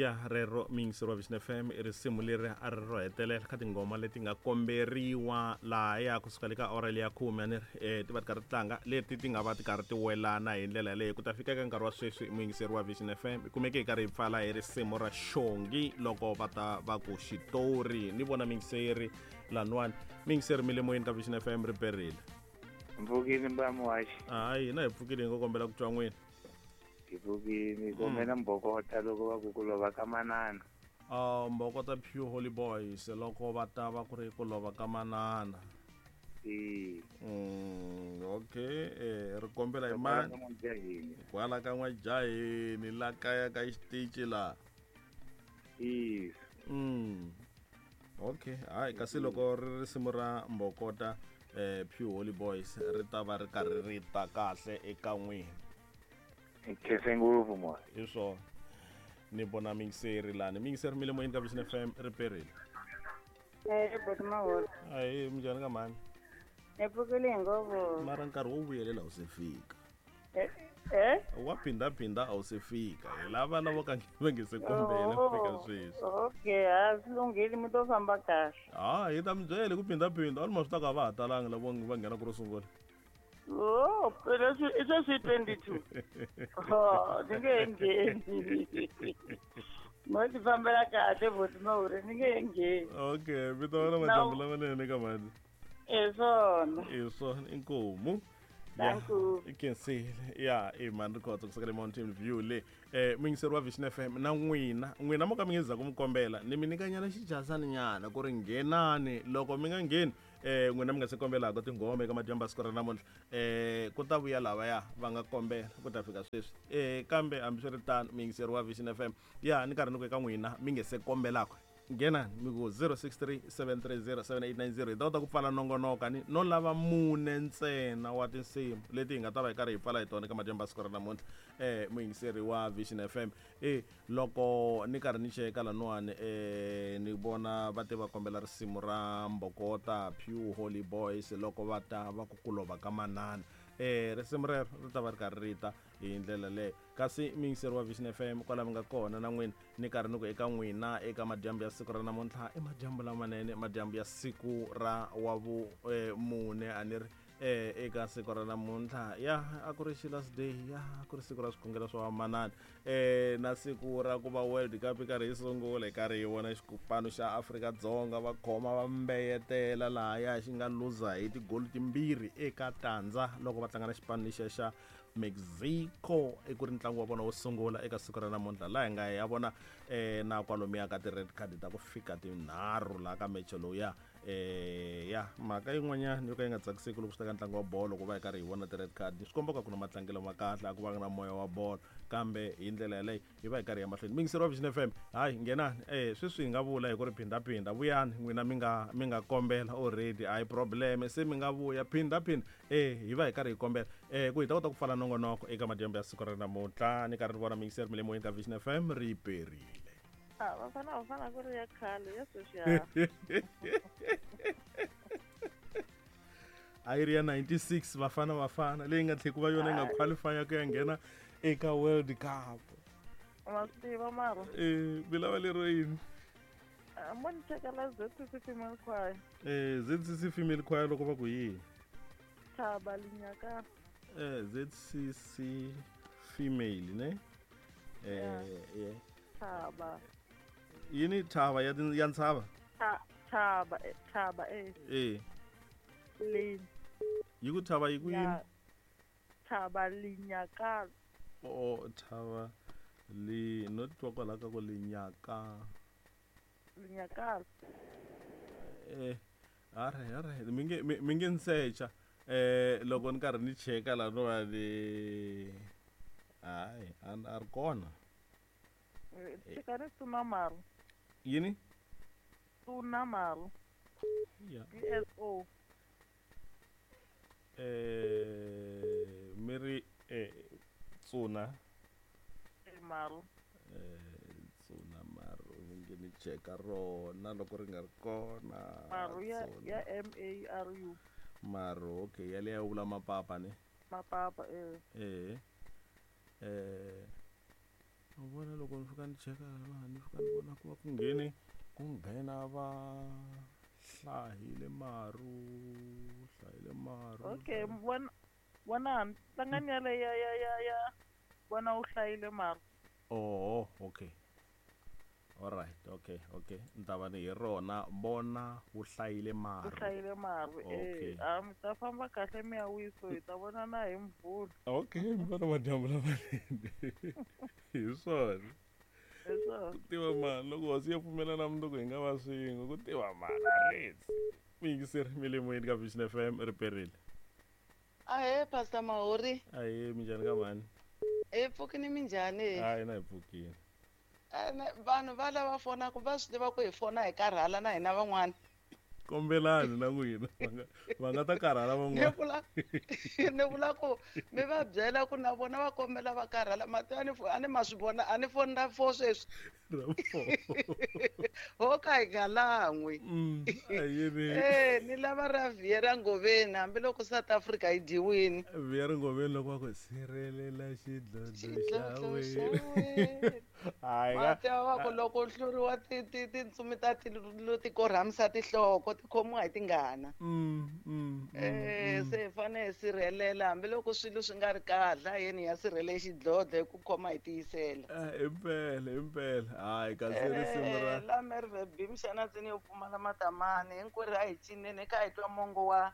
Ya rero miyingiseri wa Vision FM i risimu leri a ri ro hetelela ka tinghoma leti nga komberiwa lahaya kusuka le ka awara leya khume a ni ri ti va ti karhi ti tlanga leti ti nga va ti karhi ti welana hi ndlela yaleyo ku ta fika eka nkarhi wa sweswi muyingiseri wa Vision FM hi kumeke hi karhi hi pfala hi risimu ra Xongi loko va ta va ku xitori ni vona miyingiseri laniwani miyingiseri mi le moyeni ka Vision FM ri perile. Mpfukile mbuya muhaxi. Hayi hina hi pfukile hi ngo kombela ku twa n'wina. Hi pfukile kombela mbokota loko va ku ku lova ka manana. Mbokota Pure Holy Boys loko va ta va ku ri ku lova ka manana. E. Okay, ri kombela hi mani? Kwala ka N'wajaheni la kaya ka xitici la. Yes. Okay, hayi kasi loko ri risimu ra Mbokota Pure Holy Boys ri ta va ri karhi ri ta kahle eka n'wina. Khense ngopfu moya. Hi swona. Ni vona miyingiseri lani. Miyingiseri mi le moyeni ka Vision FM ri perile. Boti Maholo. Ahi, minjhani ka mhani? Ni pfukile hi ngopfu. Mara nkarhi wo vuyelela wu se fika. Eh? Wa phindaphinda a wu se fika. Hi lava lavo ka va nge se kombela ku fika sweswi. Okay, ha swi lunghile mi to famba kahle. Ha, hi ta mi byela ku phindaphinda, almost ta ka va ha talanga lavo va nghena ku ro sungula. Oh, phela i sweswi 22. Oh, ni nge he ngheni. Mo ti fambela kahle boti Mahure, ni nge he ngheni. Okay, mi ta vona madyambu lamanene ka mhani. Hi swona. Hi swona, inkomu. Thank you. I khensile. Ya, i mhani Rikhotso kusuka le Mountain View le. Muyingiseri wa Vision FM na n'wina, n'wina mo ka mi nge za ku mi kombela, ni mi nyikanyana xijazani nyana ku ri nghenani loko mi nga ngheni n'wina mi nga se kombelaka tinghoma eka madyambu ya siku ra namuntlha ku ta vuya lavaya va nga kombela ku ta fika sweswi kambe hambiswiritano muyingiseri wa Vision FM ya ni karhi ni ku eka n'wina mi nge se kombelaka nghenani mi ku 063 730 7890 hi ta kota ku pfala nongonoko ni no lava mune ntsena wa tinsimu leti hi nga ta va hi karhi hi pfala hi tona eka madyambu ya siku ra namuntlha muyingiseri wa Vision FM loko ni karhi ni cheka laniwani ni vona va te va kombela risimu ra Mbokota Pure Holy Boys loko va ta va ku ku lova ka manana risimu rero ri ta va ri karhi ri ta hi ndlela leyo kasi muyingiseri wa Vision FM kwala mi nga kona na n'wina ni karhi ni ku eka n'wina eka madyambu ya siku ra namuntlha i madyambu lamanene madyambu ya siku ra wa vu mune a ni ri eka siku ra namuntlha ya a ku ri Sheila's Day ya a ku ri siku ra swikhongelo swa vamanana na siku ra ku va World Cup yi karhi yi sungula hi karhi hi vona xipano xa Afrika-Dzonga va khoma va mbeyetela lahaya xi nga luza hi tigolo timbirhi eka tandza loko va tlanga na xipano lexiya xa Mexico i ku ri ntlangu wa vona wo sungula eka siku ra namuntlha laha hi nga ya vona na kwalomuya ka ti-red card ta ku fika tinharhu laha ka meche lowuya ya mhaka yin'wanyana yo ka yi nga tsakiseki loko swi ta ka ntlangu wa bolo ku va hi karhi hi vona ti-red card swi komba ka ku na matlangelo ma kahle a ku va na moya wa bolo kambe hi ndlela yaleyo hi va hi karhi ya mahlweni muyingiseri wa Vision FM hayi nghenani sweswi hi nga vula hi ku ri phindaphinda vuyani n'wina mi nga mi nga kombela already a hi problem se mi nga vuya phindaphinda hi va hi karhi hi kombela ku hi ta kota ku pfala nongonoko eka madyambu ya siku ra namuntlha ni karhi ni vona muyingiseri mi le moyeni ka Vision FM ri perile. Ah, vafana vafana ku ri ya khale ya sweswi ya A yi ri ya 96 vafana vafana leyi nga tlhela ku va yona yi nga qualify ku ya nghena eka World Cup. Ma swi tiva mara. Mi lava lero yini? Mo ni chekela ZCC Female Choir. ZCC Female Choir loko va ku yini? Thaba Linyaka. ZCC Female ne? Yeah. Thaba. Yini thaba ya ya ntshava? Thaba, thaba Lin. Yi ku thaba yi ku yini? Thaba Linyaka. Oh, thaba li no twa kwala ka ku linyaka. Linyaka. All right, mi nge mi nge ni secha. Loko ni karhi ni cheka la no va ni hayi a ri kona. Cheka ni Tuna Maru. Yini? Tuna Maru. Yeah. DSO. Mi ri Tsuna. Maru. Tsuna Maru mi nge ni cheka rona loko ri nga ri kona. Maru ya ya M A R U. Maru, okay, yaleyo vula mapapa ne? Mapapa. Vona loko ni fika ni cheka laha ni fika ni vona ku va ku nghene ku nghena va hlahile maru, hlayile maru. Okay, vona vona tlangani yale ya vona u hlayile maru. Oh, okay. Alright, okay, okay. Ni ta va ni hi rona vona wu hlayile U maru. hlayile maru. Okay. Eh, a mi ta famba kahle mi ya wiso, hi ta vonana hi Mvhulu. Okay, mi vona madyambu lamanene. Hi swona. Hi swona. Ku tiva mani loko hosi yo pfumela na mundzuku hi nga va swin'we, ku tiva mani a ritsi. Muyingiseri mi le moyeni ka Vision FM ri perile. Ahee, Pastor Mahori. Ahee, minjhani ka mhani? Hi pfukini, minjhani? Hayi, na hi pfukile. Ene vanhu va lava fonaka va swi tiva ku hi fona hi karhala na hina van'wana. Kombelani na n'wina va nga ta karhala Ni van'wana. vula ni vula ku mi va byela ku na vona va kombela va karhala mati a ni a ni ma swi vona a ni foni ra four sweswi. Ra four. Ho ka hi nga lan'wi. Ayini. Eh, ni lava ra vhiye ra Ngoveni hambiloko South Africa yi dyiwini. Vhiya ri Ngoveni loko va ku sirhelela xidlodlo xa Xidlodlo xa wena. wena. Hayi Ma tiva va ku loko u hluriwa ti ti tintsumi ta tilo ti korhamisa tinhloko ti khomiwa hi tingana. Eh, se hi fanele hi sirhelela hambiloko swilo swi nga ri kahle, a yeni hi ya sirhele xidlodlo hi ku khoma hi tiyisela. Impela, impela. Hayi kasi risimu ra Eh, la Merwe B Mxanatsini yo pfumala matamani hinkwerhu a hi cineni kha hi twa mongo wa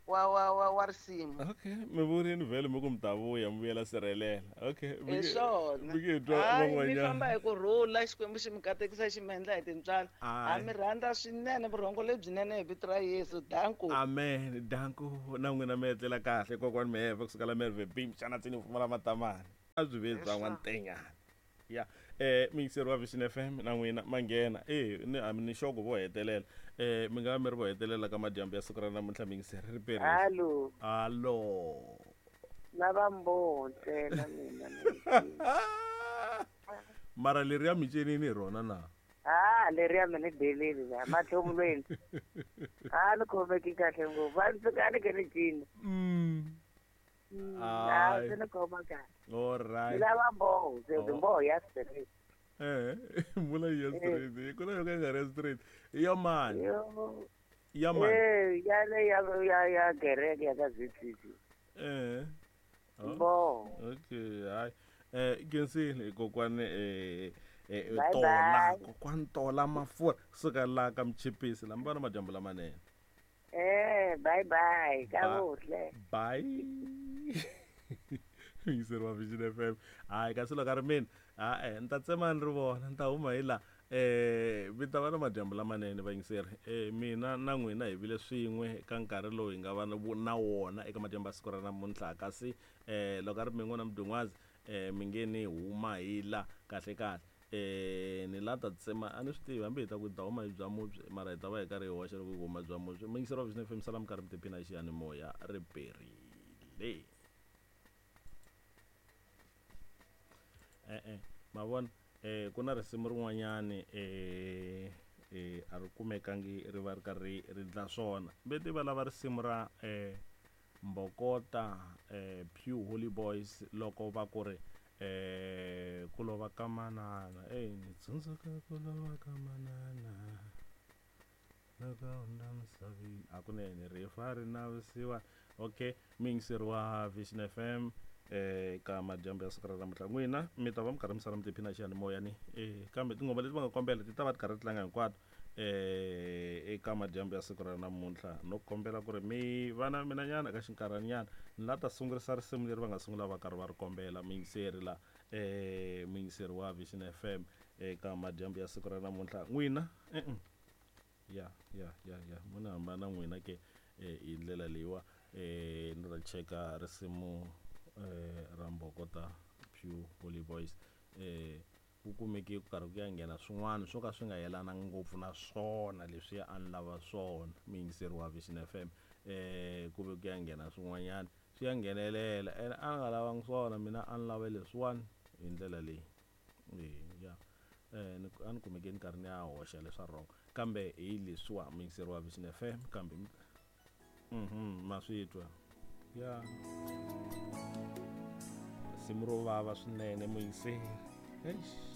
wa wa wa wa risimu. Okay, mi vurini vhele mi ku mi ta vuya mi vuyela sirhelela. Okay, mi Hi nge swona. mi nge hi twa Hayi mi van'wanyana. famba hi ku rhula, Xikwembu xi mi katekisa xi mi endla hi tintswalo. Ha Hayi. mi rhandza swinene vurhongo lebyinene hi vito ra Yesu. Danko. Amen. Danko na n'wina mi etlela kahle kokwani Mheve kusuka la Merwe B Mxanatsini pfumala matamani. A byi ve bya n'wantenyana. Ya, miyingiseri wa Vision FM na n'wina ma nghena. Eh, ni a ni xoko vo hetelela. Mi nga va mi ri vo hetelela ka madyambu ya siku ra namuntlha miyingiseri ri perile. Hallo. Hallo. Lava mboho ntsena mina. Mara leri ya micenini hi rona na? Ah, leriya mi ni deleli la matlhomulweni. A ni khomeki kahle ngopfu. A ni fika a ni ke ni cina. A Hayi. swi ni khoma kahle. All Ni right. lava mboho, se Oh. mboho ya straight. Eh, vula ya straight. Ku na yo ka yi nga ri ya straight. Ya mani? Yo. Ya mani? Eh, ya le ya ya ya kereke ya ka ZCC. Eh. Oh. Mboho. Okay, hayi. Khensile kokwani Bye Tola, bye. kokwani Tola Mafurha kusuka la ka Mchipisi la mi vona madyambu lamanene. Eh, bye bye. Ka Ba- vuhle. Bye. Yingiseri wa Vision FM. Hayi kasi loko a ri mina, ha-e ni ta tsema ni ri vona, ni ta huma hi la. Mi ta va na madyambu lamanene vayingiseri. Mina na n'wina hi vile swin'we ka nkarhi lowu hi nga va na wona eka madyambu ya siku ra namuntlha. Kasi loko a ri mina n'wina Mdungwazi, mi nge ni huma hi la kahle kahle. Ni la ta tsema a ni swi tivi hambi hi ta ku hi ta huma hi bya mubye mara hi ta va hi karhi hi hoxa loko hi huma bya mubye. Muyingiseri wa Vision FM sala mi karhi mi tiphina hi xiyanimoya ri perile. E-e, ma vona ku na risimu rin'wanyani a ri kumekangi ri va ri karhi ri dla swona. Ve va lava risimu ra Mbokota Pure Holy Boys loko va ku ri ku lova ka manana. Ni tsundzuka ku lova ka manana loko a hundza misaveni. Hakunene rifu a ri na vusiwana. Okay, muyingiseri wa Vision FM ka madyambu ya siku ra namuntlha n'wina mi ta va mi karhi mi sala mi tiphina xiyanimoya ni kambe tinghoma leti va nga kombela ti ta va ti karhi ti tlanga hinkwato eka madyambu ya siku ra namuntlha. No kombela ku ri mi va na mina nyana ka xinkarhanyana ni la ta sungurisa risimu leri va nga sungula va karhi va ri kombela muyingiseri la muyingiseri wa Vision FM eka madyambu ya siku ra namuntlha n'wina. Ya ya ya ya mu ni hambana n'wina ke hi ndlela leyiwa ni ta cheka risimu ra Mbokota Pure Holy Boys ku kumeke ku karhi ku ya nghena swin'wana swo ka swi nga yelana ngopfu na swona leswiya a ni lava swona muyingiseri wa Vision FM ku ve ku ya nghena swin'wanyana swi ya nghenelela ene a ni nga lavangi swona mina a ni lava leswiwani hi ndlela leyi. Ya a ni kumeke ni karhi ni ya hoxa leswa wrong kambe hi leswiwa muyingiseri wa Vision FM kambe ma swi twa ya risimu ro vava swinene muyingiseri. Eish.